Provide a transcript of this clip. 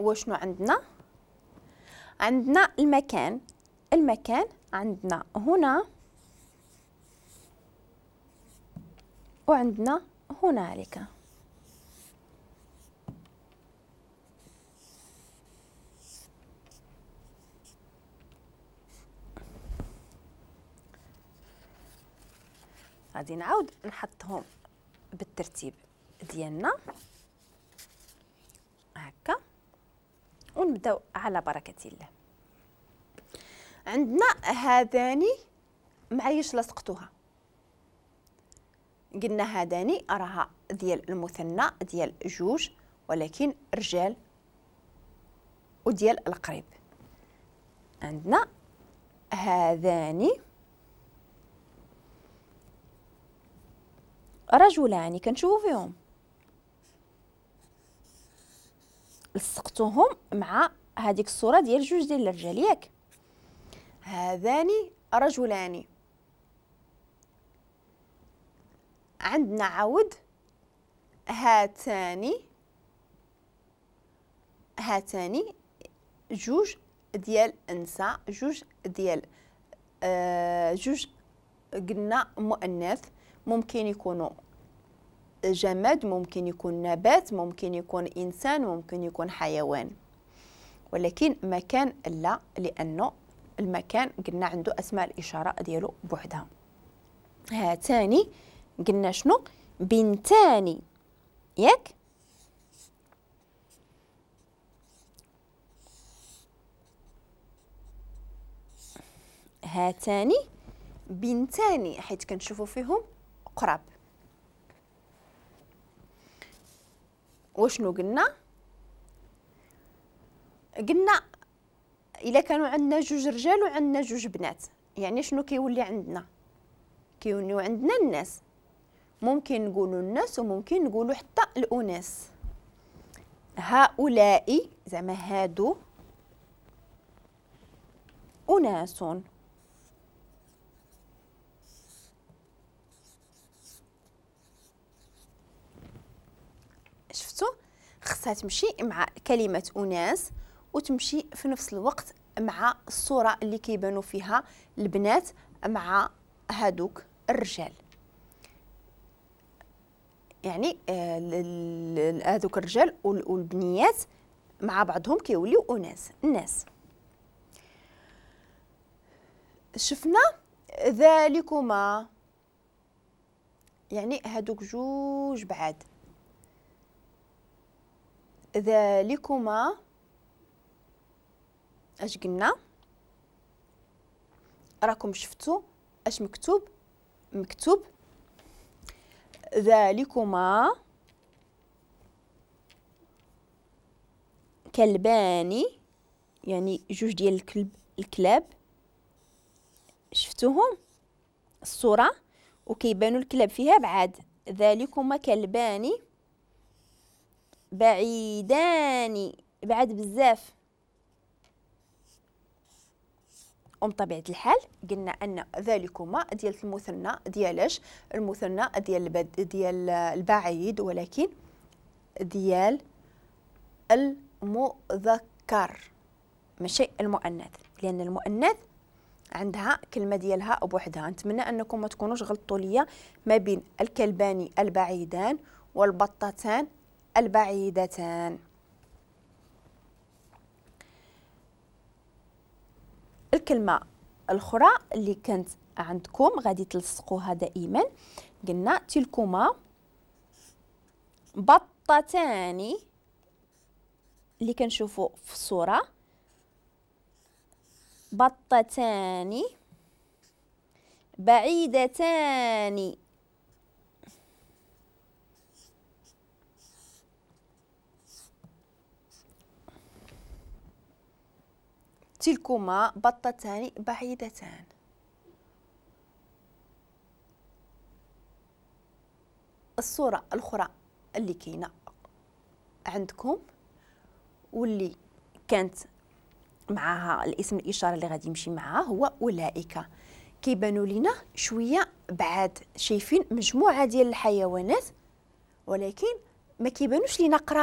وشنو عندنا؟ عندنا المكان. المكان عندنا هنا وعندنا هنالك. غادي نعاود نحطهم بالترتيب ديالنا هكا ونبداو على بركة الله. عندنا هذاني معايش لصقتوها، قلنا هذاني راها ديال المثنى ديال جوج ولكن رجال وديال القريب. عندنا هذاني رجلان كنشوفو فيهم، لصقتوهم مع هذيك الصورة ديال جوج ديال الرجال ياك. هذان رجلان. عندنا عاود هاتان، هاتان جوج ديال النساء، جوج ديال جوج قلنا مؤنث، ممكن يكونوا جماد، ممكن يكون نبات، ممكن يكون إنسان، ممكن يكون حيوان، ولكن مكان لا، لأنه المكان قلنا عنده أسماء الإشارة ديالو بوحدها. هاتان قلنا شنو؟ بنتان ياك. هاتان بنتان حيت كنشوفوا فيهم قراب. وشنو قلنا؟ قلنا الا كانوا عندنا جوج رجال وعندنا جوج بنات، يعني شنو كيولي عندنا؟ كيوليو عندنا الناس، ممكن نقولوا الناس وممكن نقولوا حتى الاناس. هؤلاء زعما هادو اناس. شفتوا؟ خصها تمشي مع كلمة أناس وتمشي في نفس الوقت مع الصورة اللي كيبانوا فيها البنات مع هادوك الرجال، يعني هادوك الرجال والبنيات مع بعضهم كيوليو أناس. الناس. شفنا ذلكما يعني هادوك جوج بعاد. ذلكما اش قلنا؟ راكم شفتوا اش مكتوب؟ مكتوب ذلكما كلبان، يعني جوج ديال الكلب، الكلاب شفتوهم الصورة وكيبانوا الكلاب فيها بعاد. ذلكما كلبان بعيدان، بعد بزاف. وبطبيعة الحال قلنا أن ذلكما ديال المثنى ديالاش؟ المثنى ديال البعيد، ولكن ديال المذكر ماشي المؤنث، لأن المؤنث عندها كلمة ديالها بوحدها. نتمنى أنكم ما تكونوش غلطوا ليا ما بين الكلبان البعيدان والبطتان البعيدتان. الكلمة الأخرى اللي كانت عندكم غادي تلصقوها دائما، قلنا تلكما بطتان اللي كنشوفوا في الصورة، بطتان بعيدتان. تلكما بطتان بعيدتان. الصورة الأخرى اللي كاينة عندكم واللي كانت معها الاسم الإشارة اللي غادي يمشي معها هو أولئك. كيبانوا لينا شوية بعاد، شايفين مجموعة ديال الحيوانات ولكن ما كيبانوش لينا قراب.